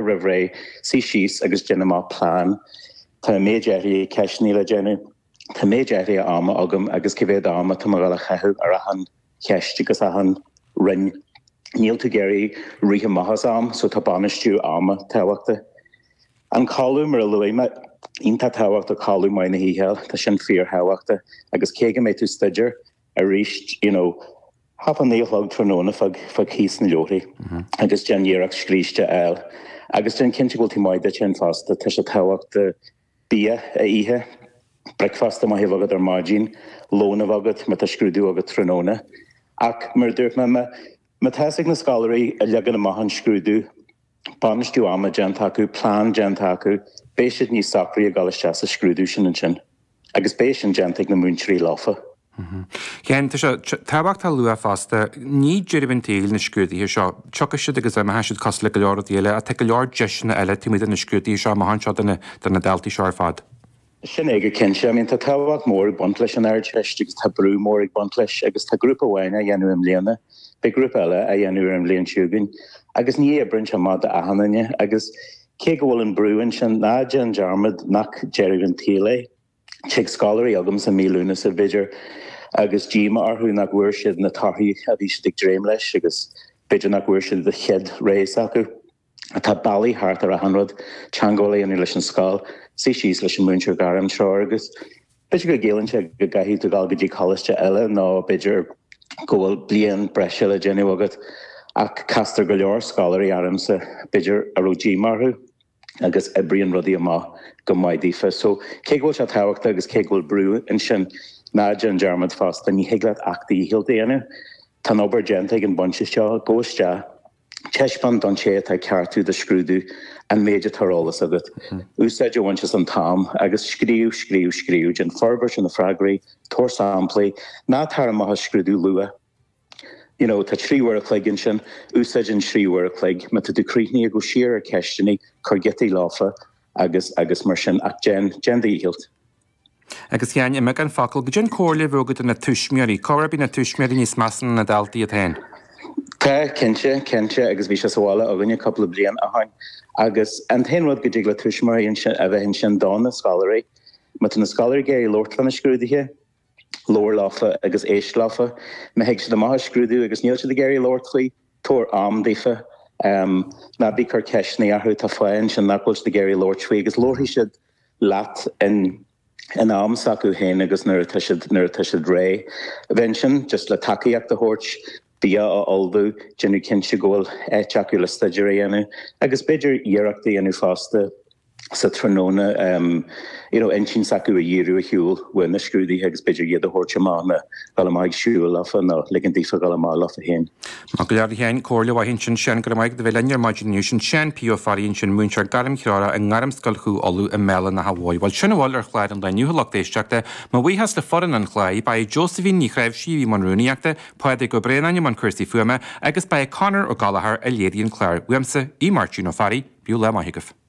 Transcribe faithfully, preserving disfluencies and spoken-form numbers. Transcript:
roimh ré, suigh síos agus déan amach plean. Tá an méid áirithe ceisteanna le déanamh, tá méid áirithe ama agam agus cé mhéad ama tá mé ag dul a chaitheamh ar achan cheist agus achan roinn. Níl tú ag iarraidh rith amach as am, so tá bainistiú ama tábhachtach. An codladh, mar a luaigh mé, iontach tábhachtach codladh maith na hoíche, tá sin fíorthábhachtach agus cé go mbeidh tú ag staidéar arís, you know, half a naoi a chlog tráthnóna fág fág thíos na leabharthaí agus déan iarracht scríste a fháil agus déan cinnte go bhfuil tú maith duit féin fosta, tá sé tábhachtach bia a ithe, bricfeasta maith a bheith agat ar maidin, lón a bheith agat má tá scrúdú agat tráthnóna. Ach mar a dúirt mé, má má tá fhios ag na scoláirí a leagan amach an scrúdú, bainistiú ama déanta acu, plean déanta acu, beidh siad níos socraí ag dul isteach sa scrúdú sin ansin. Agus beidh sin déanta ag na múinteoirí leofa. Sheáin, tá sé tábhachtach a lua fosta, ní deireadh an tsaoil na scrúduithe seo. Tiocfaidh siad agus imeoidh siad cosúil le go leor rudaí eile ach tá go leor deiseanna eile taobh amuigh de na scrúduithe seo amach anseo do na daltaí seo ar fad. Sin é go cinnte. I mean tá tábhacht mór ag baint leis an Ardteist agus tá brú mór ag baint leis agus tá grúpa amháin á dhéanamh i mbliana, beidh grúpa eile á dhéanamh ar an bhliain seo chugainn agus ní oibreann sé amach d'achan duine agus cé go bhfuil an brú ansin, ná déan dearmad nach deireadh an tsaoil é. Tig scoláirí agamsa i mí Lúnasa b'fhéidir agus díomá orthu nach bhfuair siad na torthaí a bhí siad ag dréim leis agus b'fhéidir nach bhfuair siad an chéad rogha s'acu. Tá bealaí thart ar achan rud, teagmháil a dhéanamh leis an scoil, suí síos leis an múinteoir gairmthreoir agus b'fhéidir go gciallaíonn sé go gcaithfidh tú dul go dtí coláiste eile nó b'fhéidir go bhfuil bliain breise le déanamh agat ach castar go leor scoláirí ormsa b'fhéidir a raibh díomá orthu agus oibríonn rudaí amach go maith daofa. So cé go bhfuil sé tábhachtach agus cé go bhfuil brú ansin, ná déan dearmad fosta, ní thig leat ach do dhícheall a dhéanamh. Tá an obair déanta ag an bhinse seo, gabh isteach, Taispeáin don té atá ag ceartú do scrúdú an méid atá ar eolas agat. Úsáid a bhaint as an t-am agus scríobh, scríobh, scríobh. Déan forbairt ar na freagraí, tabhair samplaí. Ná tar amach as scrúdú luath. You know, tá trí uair a chloig ansin, úsáid an trí uair a chloig. Má tá tú críochnaithe, gabh siar ar ceisteanna, cuir giotaí leofa agus agus mar sin ach déan, déan do dhícheall. Agus a Sheáin, i mbeagán focal, goidé an comhairle a bheadh agat do na tuismitheoirí? Corruair bíonn na tuismitheoirí níos measa ná na daltaí iad féin. Tá, cinnte, cinnte, agus bhí sé sa bhaile againne cúpla bliain ó shin. Agus an t-aon rud go dtig le tuismitheoirí ansin, a bheith ansin do na scoláirí, má tá na scoláirí ag iarraidh labhairt fá na scrúduithe, labhair leofa agus éist leofa. Má thig siad amach as scrúdú agus níl siad ag iarraidh labhairt faoi, tabhair am daofa. Ná bí ag cur ceisteanna orthu, tá fáth ansin nach bhfuil siad ag iarraidh labhairt faoi agus labharfaidh siad leat in in am s'acu féin agus nuair atá siad nuair atá siad réidh. Bheith ansin just le tacaíocht a thabhairt, bia a ullmhú, déanamh cinnte go bhfuil áit acu le staidéar a dhéanamh agus b'fhéidir iarracht a dhéanamh fosta sa tráthnóna you know intinn s'acu a dhíriú ar shiúl uaidh na scrúduithe agus b'fhéidir iad a thabhairt amach nó dul amach ag siúl leofa nó ligean daofa dul amach leofa féin. Maith go leor a Sheáin, comhairle mhaith ansin. Seán, go raibh maith agat a bheith linn ar maidin inniu. Sin Seán P. Ó Fearraigh ansin, múinteoir gairmthreorach i nGairmscoil Chú Uladh i mBéal an Átha Mhóir. Bhuel, sin a bhfuil ar chlár an lae inniu, a lucht éisteachta. Mo bhuíochas le foireann an chláir. Ba é Josephine Ní Chnáimhsí a bhí i mbun rúnaíochta, Pádraig Ó Braonáin i mbun cúrsaí fuaime agus ba é Conor Ó Gallchóir a léirigh an clár. Uaimse, Aodh Máirtín Ó Fearraigh, bíodh lá maith agaibh.